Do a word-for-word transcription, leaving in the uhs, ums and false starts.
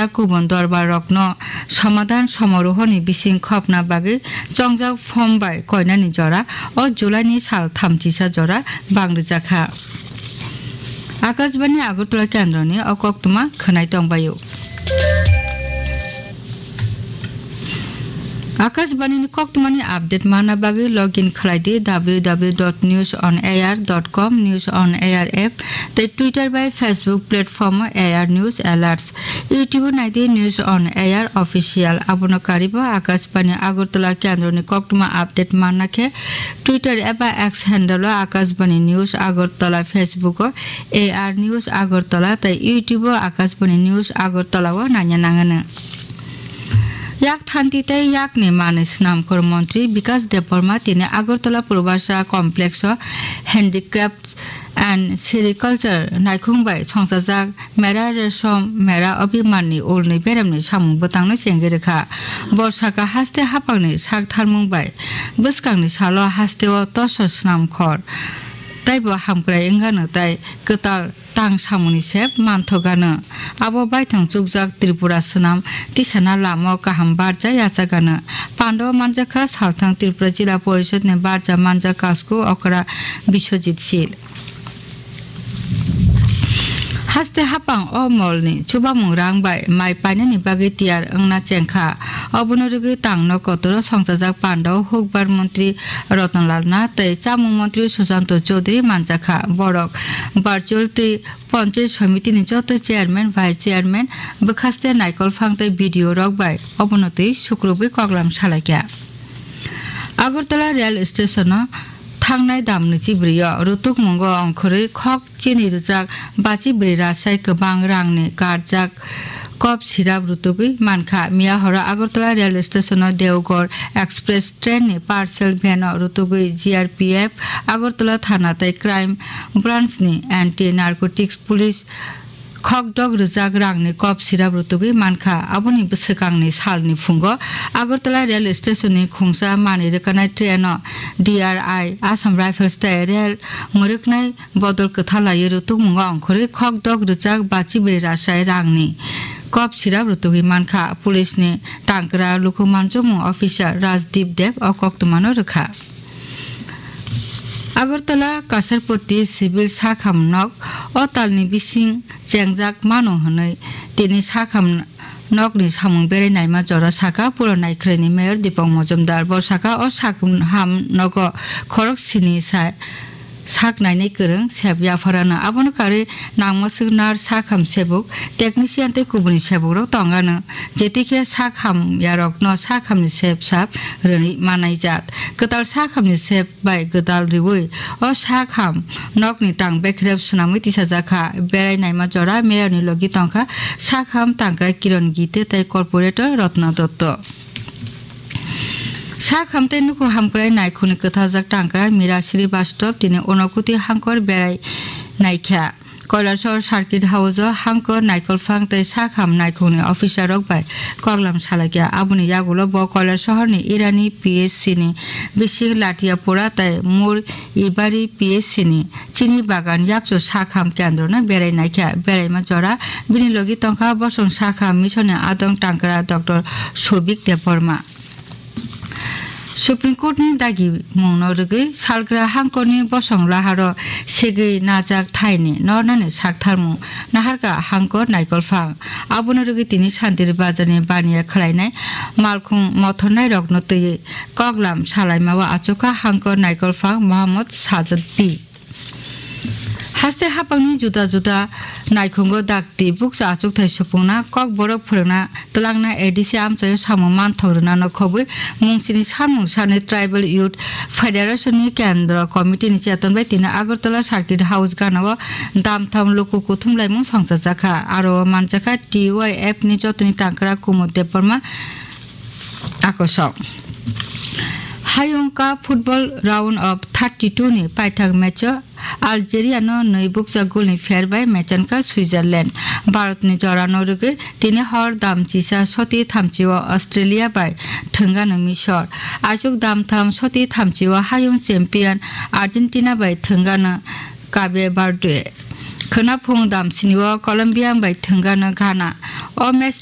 kubun dorbar rokno somadhan somorohoni bising khopna bagwi chongjak form bai koinani jora o July ni sal thamchisa jora bang rwjakha. Akashbani Agartala kendroni o koktwma khwnai tongbaio. Akashbani ni koktwmani update manna bagwi login khlai di w w w dot news on air dot com, News on Air app tei Twitter bai Facebook platform o A R News Alerts. YouTube o nai di News on Air Official. Abono karibo Akashbani Agartala kendroni koktwma update manna khe Twitter eba X handle o Akashbani News Agartala, Facebook o A R News Agartala tei YouTube o Akashbani News Agartala o naina nangano. Yak thanti tei yakni manwi swnamkhor montri Bikas Debbarma tini Agartala Purbarsa Complex o Handicrafts and Sericulture naikhung bai songchajak Mera Resom Mera Abhiman ni ulni beremni samung bwtangno chengwi rwkha. Bo saka haste haphangni sak tharmung bai bwskangni salo hasteo toso swnamkhor teibo hamkrai wngano tei kwtal tang samungni sep manthokgano. Abo baithang chukjak Tripura swnam tisana lama o kaham barja yachagano. Pandao manjakha salthang Tripura Jila Porishod ni barja manjak Kasku Okra Biswajit Sil. Haste haphang o mol ni chubamung rang bai mai painani bagwi tiyar wngna chengkha. Obono rwgwi tangno kotoro songchajak Pandao hukbar montri Ratan Lal Nath tei chamung montri Susanto Chaudhary manjakha. Borok virtual tei Panchayat Samiti ni joto chairman, vice chairman, bwkhaste naikolphang tei B D O rok bai obono twi sukrubwi koklam salaikha. Agartala rail station o thangnai damni chibrwi o rutukmungo ongkhorwi khok chini rwjak bachi bwrwi rasai kwbang rangni karjak kop sirap rutugwi mankha. Miya horo Agartala rail station o Deoghar Express train ni parcel van o rutugwi G R P F Agartala thana tei crime branch ni anti narcotics police khokdok rwjak rangni kop sirap rutugwi mankha. Aboni bwswkangni salni phungo Agartala rail station ni khungsa manwi rwkanai train o D R I, Assam Rifles tei rail mwrwknai bodol kwtha laiwi rutukmungo ongkhorwi khokdok rwjak bachi bwrwi rasai rangni kop sirap rutugwi mankha. Police ni tangkra luku manjomung officer Rajdeep Deb o koktwmano rwkha. Agartala Kasarpoti civil sakham nok o talni bising chengjak mano hwnwi tini sakham nokni samung berai naima jora saka pura naikhwraini mayor Dipok Mojumdar. Bo saka o sakham nogo khorok sini sa sak nainai kwrwng sep yapharano. Abono karwi nangmoswk nurse, sakham sebuk, technician tei kubuni sebukrok tongano. Jetikhe sakham yarokno sakhamni sep sap rwnwi manaijak. Kwtal sakhamni sep bai gwdal riui o sakham nokni tang bekrep swnamwi tisajakha. Berai naima jora mayorni logi tongkha sakham tangkrai Kiron Gite tei corporator Rotna Dotto. Sakham tei nukhung hamkrai naikhungni kwthajak tangkrai Mira Srivastava tini Unokuti hangkor berai naikha. Kailasahar Circuit House o hangkor naikolphang tei sakham naikhungni officer rok bai koklam salaikha. Aboni yagulo bo Kailasahar ni Irani P S C ni bising Latiapura tei Mur Ibari P S C ni chini bagan yakchu sakham kendro no berai naikha. Beraima jora bini logi tongkha bosong sakham mission ni adong tangkra Doctor Sobik Debbarma. Supreme Court ni dagimungno rwgwi salgra hangkorni bosong laharo segwi najak thaini nornani saktharmung naharkha hangkor naikolphang. Abono rwgwi tini Santiri Bazarni baniya khwlainai malkhung mothornairokno twiwi koklam salaimao achukha hangkor naikolphang Mohammad Sajid B. Haste hapangni juda juda naikhungo dakti bukcha achukthai supungna, kokborok phwrwngna, twlangna A D C amchaio samung manthok rwna nokhobwi mungsini samung sanwi Tribal Youth Federation ni Kendra Committee ni cheton bai tini Agartala Circuit House ganao damtham luku kuthumlaimung songchajakha. Aro o manjakha T Y F ni jotoni tangkra Kumud Debbarma akosok. Hayung Cup Football Round of thirty-two ni paithak match o Algeria no nwi bukcha goal ni pher bai mechankha Switzerland. Bharat ni jora no rwgwi tini hor dam chisa soti thamchi o Australia bai thwngano Misor. Aswk dam tham soti thamchi o hayung champion Argentina bai thwngano Cape Verde. Khwnaphung dam sini o Colombia bai thwngano Ghana. O match rok